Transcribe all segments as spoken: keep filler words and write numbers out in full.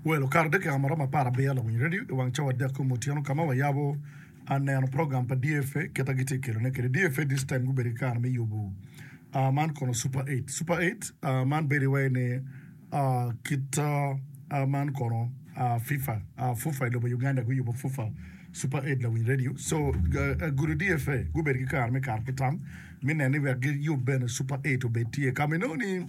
Well, okato dakika ma romo apar abiro lawiny radio i wang cawa adek kom otyeno ka ma wayabo aneno program pa D F A kita gitye kelone kede D F A. This time gubedo ki kare me yubo uh, man kono Super eight, Super eight uh, man bedo iwaci ni uh, kit uh, uh, man kono uh, FIFA uh, FUFA i lobo Uganda guyubo FUFA Super eight lawiny radio. So uh, uh, gudo D F A gubedo ki kare me kato ki tam mi neno ni wek giyub bene Super eight obed tye kama inongo ni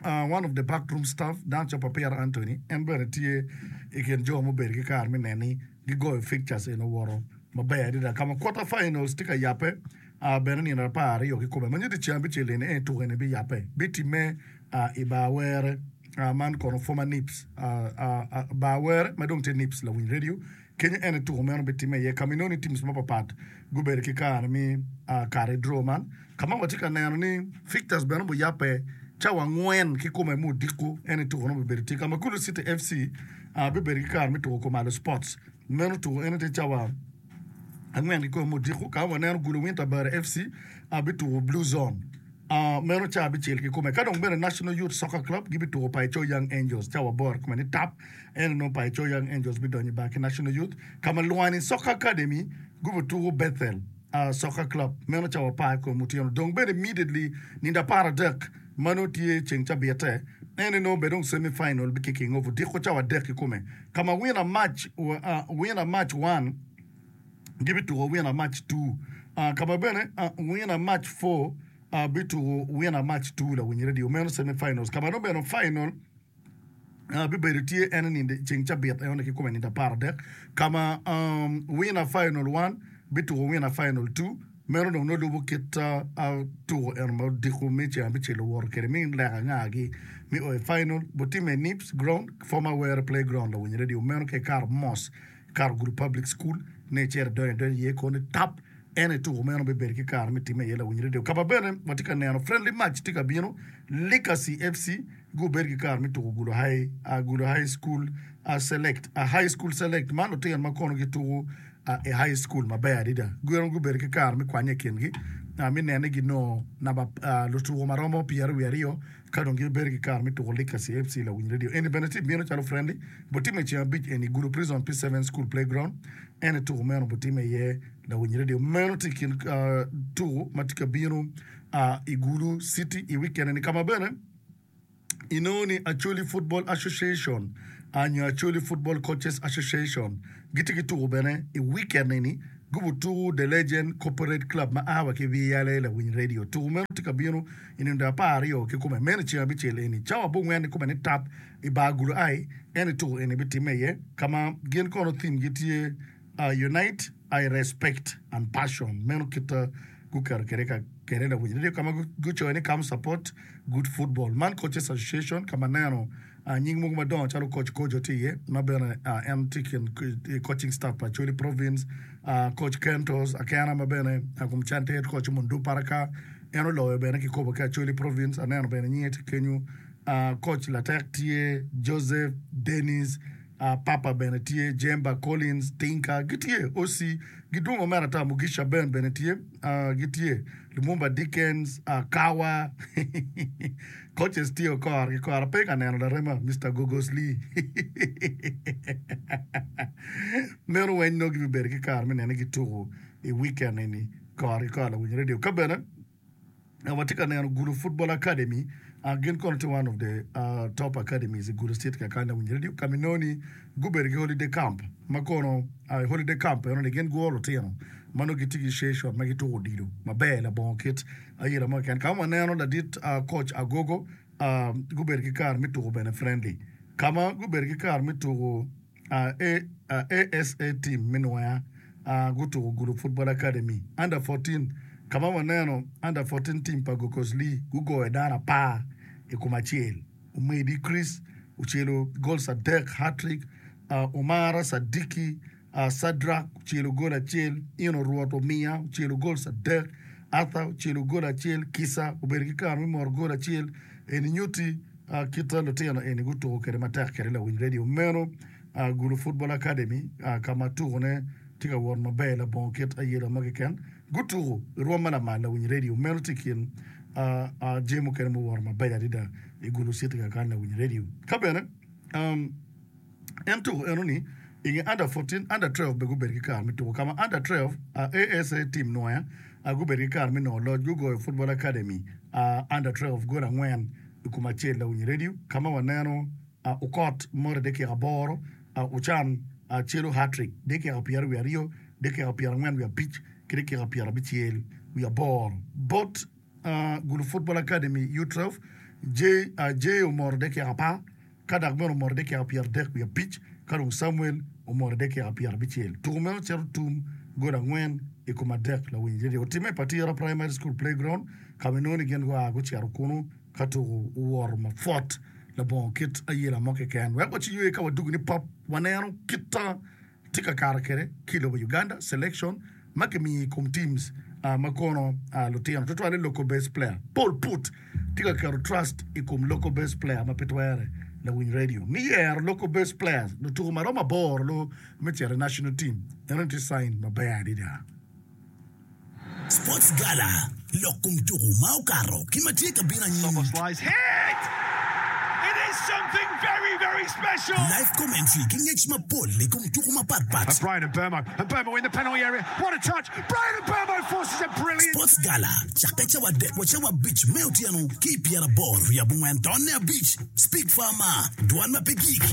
Uh, one of the backroom staff dan co pa Peter Anthony en bene tye i kin jo mubedo ki kare me neni gigoyo fixtures en owoto maber adada kama quarter finals tye ka yabe uh, bene nino apar aryo kikome ma nyuto ceng abicel eni en tuko eni biyabe bitime uh, i bar were uh, man kono former Nips uh, uh, uh, bar were ma dong tye Nips lawiny radio kenyo en tuko meno bitime iye kama inongo ni teams mapapat gubedo ki kare mi uh, kare draw man kama watye ka neno ni fixtures bene buyabe cawa angwen kikome ma odiko en tuko no bibedo tye kama Gulu City F C uh, bibedo ki kare me tuko Komalo Sports meno tuko en tye cawa angwen kikome ma odiko kama waneno Gulu Winter Bar F C uh, bituko Blue Zone uh, meno cawa abicel kikome. Ka dong bene National Youth Soccer Club gibituko Paicho Young Angels cawa aboro kome ni tap en nongo Paicho Young Angels bidonyo i bar ki National Youth kama Lwani Soccer Academy gubituko Bethel uh, Soccer Club meno cawa apar kome otyeno. Dong bene immediately nindo apar adek mano tye ceng cabite en nongo bene dong semi final bi kicking off odiko cawa adek kikome kama winner match uh, winner match one gibituko winner match two uh, kama bene uh, winner match four uh, bituko winner match two lawiny radio meno semi finals kama nongo bene final Uh, bibedo tye en ninde ceng cabit en kikome nindo apar adek kama um, winner final one bituko winner final two meno dong nolubo kit uh, uh, tuko en ma odiko me ceng abicel owoto kede mi leka ngagi mi o i final botime Nips ground, former Were playground lawiny radio meno ke karo mos karo Gulu Public School ne cere donyo donyo iye koni tap en i tuko meno bibedo ki kare me time iye lawiny radio. Kama bene watye ka neno friendly match tye ka bino Legacy F C gubedo ki kare me tuko Gulu High, uh, Gulu High School uh, Select uh, High School Select man lutino ma kono gituko uh, i high school maber adada gin gubedo ki kare me kwanye i kingi uh, mi nene ginongo namba uh, lutuko maromo pyeraryo wiye aryo ka dong gibedo ki kare me tuko Legacy F C lawiny radio eni bene tye bino calo friendly botime ceng abic eni Gulu Prison P seven School playground en i tuko meno botime iye lawiny radio meno tye i kin uh, tuko ma tye ka bino uh, i Gulu City i weekend eni kama bene inongo ni Acholi Football Association uh, nyo Acholi Football Coaches Association gitye ki tuko bene i weekend eni gubutuko The Legend Corporate Club ma a wa ki V L A lawiny radio tuko meno tye ka bino i nindo apar aryo kikome meno ceng abicel eni cawa abongwen kikome ni tap i bar Gulu ai en i tuko eni bitime iye kama gin kono theme gitye uh, "Unite I Respect and Passion" meno kita guketo kede ka kede lawiny radio kama gucoyo ni "Come support good football" man Coaches Association kama neno uh, nying mogo madongo calo Coach Kojo tye iye ma bene uh, en tye kin coaching staff pa Acholi Province, uh, Coach Kentos Akena ma bene uh, kum can tye coach Mundu Paraka en oloyo bene kikopo ki Acholi Province aneno bene nyinge tye kenyo, uh, Coach Latek tye Joseph Dennis uh, Papa bene tye Jemba Collins Tinka gitye O C gidwongo mere ata Mugisha Ben bene tye uh, gitye Lumumba Dickens uh, Kawa coaches tye okor ki kora pe ka neno larema Mister Gogos Lee meno weny nongo gibibedo ki kare me nene gituko i weekend eni kor ki kor lawiny radio. Ka bene watye ka neno Gulu Football Academy uh, gin kono tye one of the uh, top academies i Gulu State kakany lawiny radio kama inongo ni gubedo ki holiday camp ma kono uh, holiday camp eno ni gin guro lutino ma nongo gitye ki session ma gituko odilo maber labongo kit ayela mo keken kama waneno ladit uh, coach Agogo uh, gubedo ki kare me tuko bene friendly kama gubedo ki kare me tuko uh, A, uh, A S A team me Nwoya uh, gutuko Gulu Football Academy under fourteen kama waneno under fourteen team pa Gokos Lee gugoyo dano apar i kom acel. Omedi Chris ocelo goals adek, hat-trick, uh, Omara Sadiki uh, Sadrak ocelo gol acel Ino Rwot Omiya ocelo goals adek Arthur ocelo gol acel Kisa obedo ki kare me moro gol acel eni nyuti uh, kita lutino eni gutuko kede matek kede lawiny radio meno uh, Gulu Football Academy uh, kama tukone tye ka wot maber labongo kit ayela mo keken gutuko i rwom ma lamal lawiny radio meno tye i kin uh, uh, jami mukene muwoto maber adada i Gulu City kakany lawiny radio. Ka bene um, En tuko enoni i nge under fourteen, under twelve bene gubedo ki kare me tuko ka ma under twelve A S A team Nwoya gubedo ki kare me nongo loc gugoyo Football Academy under twelve gol angwen i kom acel. Lawiny redio ka ma waneno Okot moto dakika aboro, Ocan celo hat-trick dakika pyeraryo wiye aryo, dakika pyerangwen wiye abic ki dakika pyerabicel wiye aboro bot Gulu Football Academy U twelve Jay omoto dakika apar ka dok bene omoto dakika pyeradek wiye abic ka dong Samuel omoto dakika pyerabicel. Tuko meno cito tum gol angwen i kom adek. Lawiny redio otimme i Patira Primary School Playground ka ma inongo ni gin gua gucito kunu ka tuko owoto mapwot labongo kit ayela mo keken. Wek waciywe ka wadugo ni pop waneno kit tye ka kato kwede ki i lobo Uganda selection ma kimiyo i kom teams ma kono lutino tutwalle local based player Paul Put tye ka keto trust i kom local based player ma pe twere. Lawiny radio ni yero local based players lutuko ma romo aboro lo me cito i national team eno tye sign maber adada. Sports Gala, Lok kom tuku ma okato ki ma tye ka bino anyim. Live commentary ki ngec mapol i kom tuku mapat pat. Sports Gala cakke cawa adek wa cawa abic me otyeno ki i pyeraboro wiye abongwen tonne abic. Speak Farmer, Dwan ma pe gik.